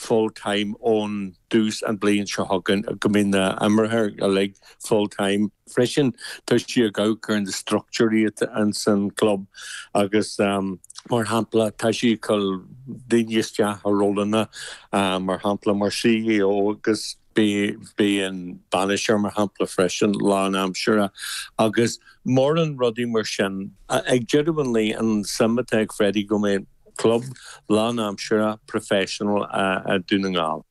full time ón dtús an bliain seo chugainn, go mbeidh na imreoirí uilig full time. Freisin tá sí ag amharc ar na structúirí atá ins an club agus mar shampla tá sí ag cur daoine isteach i rólanna mar shampla mar CEO agus beidh an bainisteoir mar shampla freisin lán-aimseartha agus mórán rudaí mar sin. Ag deireadh an lae an suim atá ag Freddie go mbeidh club lán-aimseartha professional i Dún na nGall.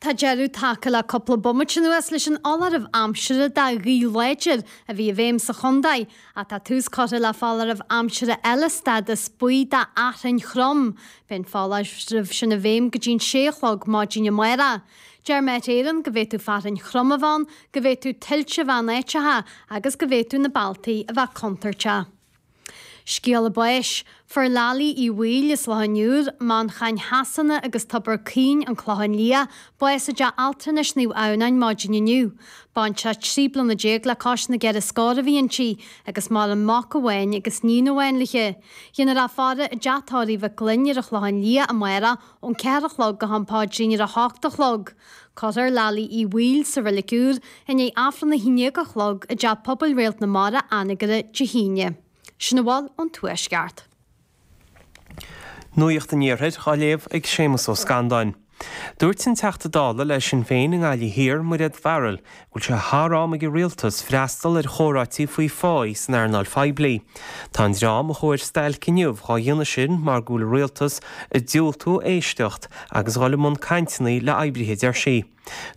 Tá deireadh tagtha le cúpla bomaite anuas leis an fholáireamh aimsire de ghaoth láidir a bhí i bhfeidhm sa chontae, ach tá tús curtha le foláireamh aimsire eile stádas buí de fhearthainn throm. Beidh an foláireamh sin i bhfeidhm go dtí'n sé a chlog maidin amárach. Deir Met Éireann go bhféadfadh fearthainn throm a bheith ann, go bhféadfadh tuilte a bheith in áiteacha agus go bhféadfadh na bealtaí a bheith contúirteach. Scéala báis. Fuair Laillí Uí Bhaoill as Loch an Iúir, Manchain Shasana agus Tobar Caoin, An Clochán Liath, bás i dteach altranais Naomh Adhamhnáin maidin inniu. Baintreach 13 bliana le cois na gceithre scór a bhí inti, agus maireann mac amháin agus níon amháin léi. Déanfar í a faire i dteach tórraimh Mhic Gloinn ar an Chlochán Liath amárach ón 4 a chlog go ham paidrín ar a hocht a chlog. Cuirfear Laillí Uí Bhaoill sa Reilig Úr i ndiaidh Aifreann 11 a chlog i dTeach Pobail Réalt na Mara, Anagaire, Dé hAoine. Sin a bhfuil ón Tuaisceart. Nuacht an Iarthair á léamh ag Séamus Ó Scanláin. Dúirt an Teachta Dála le Sinn Féin i nGaillimh Thiar, Mairéad Farrell, go bhfuil sé thar am ag an Rialtas freastal ar chomhráití faoi pháí san earnáil phoiblí. Tá an dream a chuaigh ar stailc inniu dhá dhéanamh sin mar go bhfuil an Rialtas ag diúltú éisteacht agus dhul i mbun cainteanna le oibrithe a deir sí.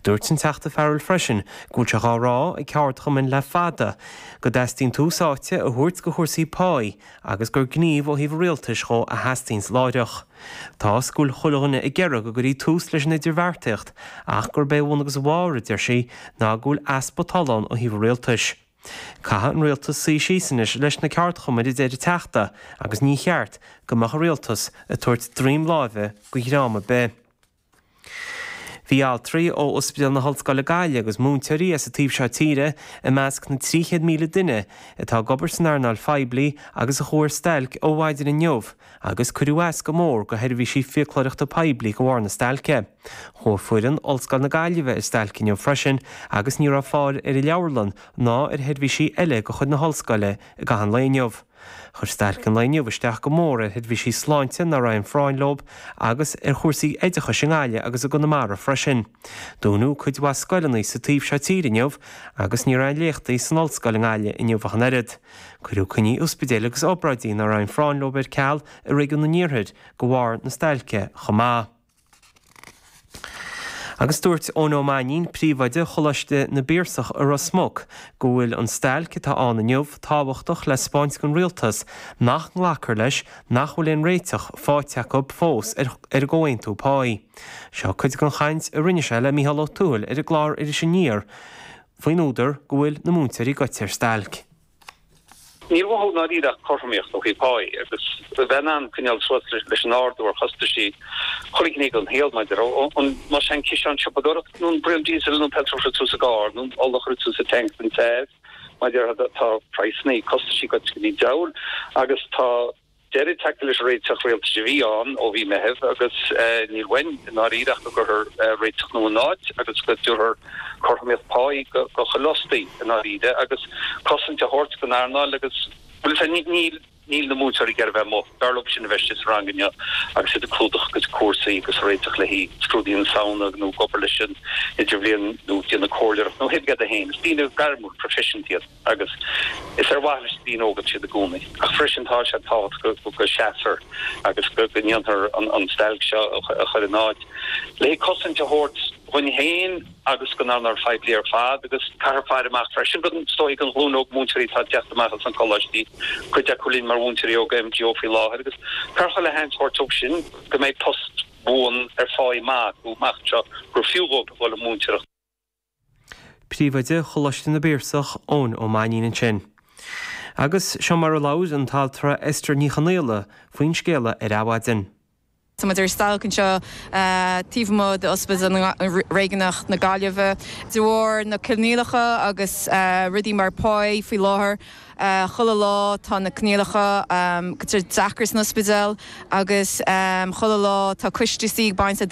Dúirt an Teachta Farrell freisin go bhfuil sé dhá rá ag ceardchumainn le fada go dteastaíonn tús áite a thabhairt go chúrsaí páí agus gur gníomh ó thaobh an rialtais dhó a theastaíonns láithreach. Tá 's go bhfuil chuile dhuine ag iarraidh go gcuirí tús leis an idirbheartaíocht ach gurb é a bhun agus a bharr, a deir sí, ná go bhfuil easpa tola ann ó thaobh an rialtais. Caithfidh an rialtas suí síos anois leis na ceardchumainn a deir an Teachta agus ní cheart go mbeadh an rialtas ag tabhairt droim láimhe go dhream ar bith. Bhí altraí ó Ospidéal na hOllscoile Gaillimh agus múinteoirí as an taobh seo tíre i measc na 300,000 duine atá ag obair san earnáil phoiblí agus a chuaigh ar stailc ó mhaidin inniu agus cuireadh as go mór go sheirbhísí fiaclóireachta poiblí de bharr na stailce. Chuaigh foireann Ollscoil na Gaillimhe ar stailc inniu freisin agus ní raibh fáil ar an leabharlann ná ar sheirbhísí eile de chuid na hollscoile i gcaitheamh an lae inniu. Chuir stailc an lae inniu isteach go mór ar sheirbhísí sláinte nach raibh aon phráinn leo agus ar chúrsaí oideachais i nGaillimh agus i gConamara freisin. Dúnadh cuid mhaith scoileanna sa taobh seo tíre inniu agus ní raibh aon léachtaí san ollscoil i nGaillimh inniu ach an oiread. Cuireadh coinní ospidéil agus obráidí nach raibh aon phráinn leo ar ceal i réigiún an iarthair de bharr na stailce chomh maith. Agus dúirt Eoin Ó Mainnín, príomhoide Choláiste na bPiarsach i Ros Muc, go bhfuil an stailc atá ann inniu tábhachtach le 'spáint don rialtas nach nglacfar leis nach bhfuil aon réiteach faighte acu fós ar an gcomhaontú páí. Seo cuid den chaint a rinne sé le Mícheál Ó Tuathail ar an gclár Iris Aniar faoin údar go bhfuil na múinteoirí goite ar stailc. Níl uathu i ndáiríre ach cothromaíocht ó thaobh páí agus a bheith in ann coinneáil suas leis an ardú ar chostaisí chuile ghné den shaol, mar a déarfá, más é an ciseán siopadóireachta nó an braon diesel nó an petrol a chur suas sa gcarr nó an ola a chur suas sa tank don teamh, mar a déarfá, tá praghsanna, costaisí goite go dtí an diabhal agus tá. Deireadh tagtha leis an réiteach rialtais a bhí ann ó mhí Meithimh agus níl uainn i ndáiríre ach go gcuirfear réiteach nua in áit agus go dtabharfar cothromaíocht páí go chuile fhostaí i ndáiríre agus cosaint a thabhairt don earnáil agus, bhuel, is ea, níl, níl na múinteoirí ag iarraidh a bheith amuigh. B'fhearr leo sin a bheith istigh sa rang inniu agus iad ag clúdach a gcuid cúrsaí agus ag réiteach le haghaidh scrúduithe na Samhna nó ag obair leis an idirbhliain nó ag déanamh comhairleoireacht nó pé rud é féin. Is daoine gairmiúil, proifisiúnta iad. agus is ar mhaithe leis na daoine óga atá siad i gcónaí. Ach freisin tá sé tábhachtach go seasfar agus go ndéanfar an stailc seo a chur in áit le cosaint a thabhairt dhuinn féin agus don earnáil phoiblí ar fad agus caithfear faire amach freisin go is dóigh don ghlúin óg múinteoirí atá ag teacht amach as na coláistí, cuid acu linn mar mhúinteoirí óga MGO faoi láthair agus caithfear chuile sheans a thabhairt dóibh sin go mbeidh post buan ar pháí maith acu amach anseo gur fiú dhóibh a dhul ag múinteoireacht. Príomhoide Choláiste na bPiarsach, Eoin Ó Mainnín ansin. Agus seo mar a labhair an t-altra Esther Ní Chonaola faoin scéala ar Adhmhaidin. Tá muid ar stailc anseo taobh amuigh d'Ospidéal Réigiúnach na Gaillimhe de bharr na coinníollacha agus rudaí mar pá faoi láthair. Chuile lá tá na coinníollacha deacair san ospidéal agus chuile lá tá coisteasaí ag baint le.